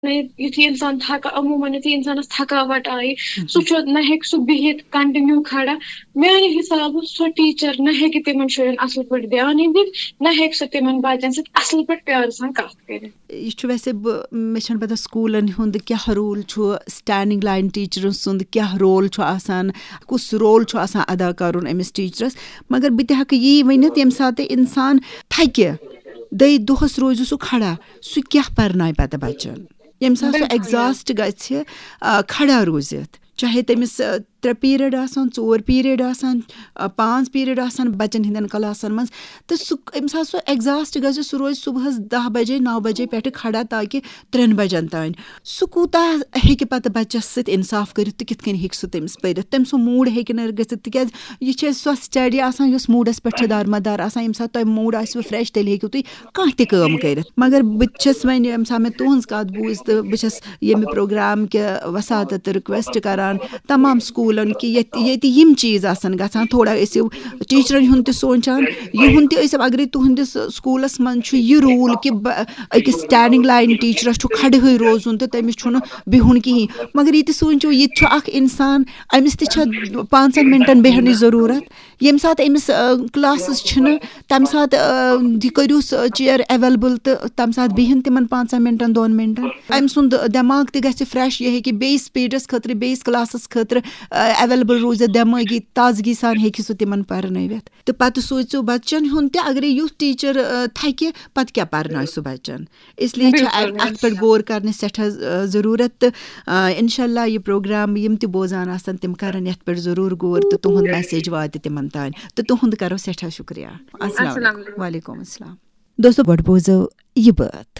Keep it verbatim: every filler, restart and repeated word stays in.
یُتھُے اِنسان تھکا عموٗماً یُتھُے اِنسانَس تھکاوٹ آیہِ، سُہ چھُ نہ ہیٚکہِ سُہ بِہِتھ continue کھڑا۔ میانہِ حسابہٕ سۄ teacher نہ ہیٚکہِ تِمن شُرٮ۪ن اصل پٲٹھۍ دیانٕے دِتھ، نہ ہیٚکہِ سۄ تِمن بچن سۭتۍ اصل پٲٹھۍ پیارٕ سان کتھ کٔرِتھ۔ یہِ چھُ ویسے، بہٕ مےٚ چھَنہٕ پَتہ سکوٗلَن ہُنٛد کیٛاہ role چھُ، standing line teacherن سُنٛد کیٛاہ role چھُ آسان، کُس role چھُ آسان ادا کَرُن أمِس teacherس۔ مگر بہٕ تہِ ہٮ۪کہٕ یی ؤنِتھ، ییٚمہِ ساتہٕ اِنسان تھکہِ، دٔے دۄہَس روزِ سُہ کھڑا، سُہ کیٛاہ پَرنایہِ پَتہٕ بَچَن؟ ییٚمہِ ساتہٕ سُہ بِلکُل۔ exhaust گژھِ، آ، کھڑا روٗزِتھ، چاہے تٔمِس، آ، ترٛےٚ period آسان، ژور period آسان، آ، پانٛژھ period آسان بَچَن ہِنٛدٮ۪ن classن منٛز، تہٕ سُہ ییٚمہِ ساتہٕ سُہ exhaust گژھِ، سُہ روزِ صُبحَس دَہ بجے، نَو بجے پٮ۪ٹھٕ کھڑا تاکہِ ترٛٮ۪ن بجن تام۔ سُہ کوٗتاہ ہیٚکہِ پَتہٕ بَچَس سۭتۍ اِنصاف کٔرِتھ تہٕ کِتھ کٔنۍ ہیٚکہِ سُہ تٔمِس پٔرِتھ؟ تٔمۍ سُنٛد mood ہیٚکہِ نہٕ گٔژھِتھ، تِکیٛازِ یہِ چھِ سۄ study آسان یۄس moodس پٮ۪ٹھ چھِ دارمدار آسان۔ ییٚمہِ ساتہٕ تۄہہِ mood آسِوٕ fresh، تیٚلہِ ہیٚکِو تُہۍ کانٛہہ تہِ کٲم کٔرِتھ۔ مگر بہٕ تہِ چھَس وۄنۍ، ییٚمہِ ساتہٕ مےٚ تُہٕنٛز کَتھ بوٗز، تہٕ بہٕ چھَس ییٚمہِ program کہِ وساطت تہٕ request کران تمام سکوٗلن کہِ ییٚتہِ، ییٚتہِ یِم چیٖز آسن گژھان، تھوڑا ٲسِو teacherن ہُنٛد تہِ سونٛچان، یِہُنٛد تہِ ٲسِو۔ اگرے تُہٕنٛدِس سکوٗلس منٛز چھُ یہِ rule کہِ بہ-، أکِس standing line teacherس چھُ کھڑہٕے روزُن تہٕ تٔمِس چھُنہٕ بِہُن کِہیٖنۍ، مگر یہِ تہِ سونٛچِو، یہِ تہِ چھُ اکھ اِنسان، أمِس تہِ چھےٚ پانٛژن مِنٹن بیٚہنٕچ ضروٗرت۔ ییٚمہِ ساتہٕ أمِس، آ، classes چھِنہٕ، تَمہِ ساتہٕ، آ، یہِ کٔرِو سُہ chair available تہٕ تَمہِ ساتہٕ بِہِن تِمن پانٛژن مِنٹن، دۄن مِنٹن۔ أمۍ سُنٛد دٮ۪ماغ تہِ گژھِ fresh، یہِ ہیٚکہِ بیٚیِس periodس خٲطرٕ، بیٚیِس classس خٲطرٕ، آ، available روٗزِتھ، دٮ۪مٲغی تازگی سان ہیٚکہِ سُہ تِمن پرنٲوِتھ۔ تہٕ پتہٕ سوٗزِو بچن ہُنٛد تہِ، اگرے یُتھ teacher، آ، تھکہِ، پتہٕ کیٛاہ پرناوِ سُہ بچن؟ اس لیے چھِ بِلکُل، اتھ پٮ۪ٹھ غور کرنٕچ سٮ۪ٹھاہ، آ، ضروٗرت۔ تہٕ، آ، انشاءاللہ یہِ program یِم تہِ بوزان آسن، تِم کرن یتھ پٮ۪ٹھ ضروٗر غور تہٕ تُہُنٛد message واتہِ تِمن تام۔ تہٕ تُہُنٛد کرو سٮ۪ٹھاہ شُکریہ۔ السلام السلام علیکم۔ علیکم۔ وعلیکم السلام۔ دوستو، گۄڈٕ بوزو یہِ بٲتھ۔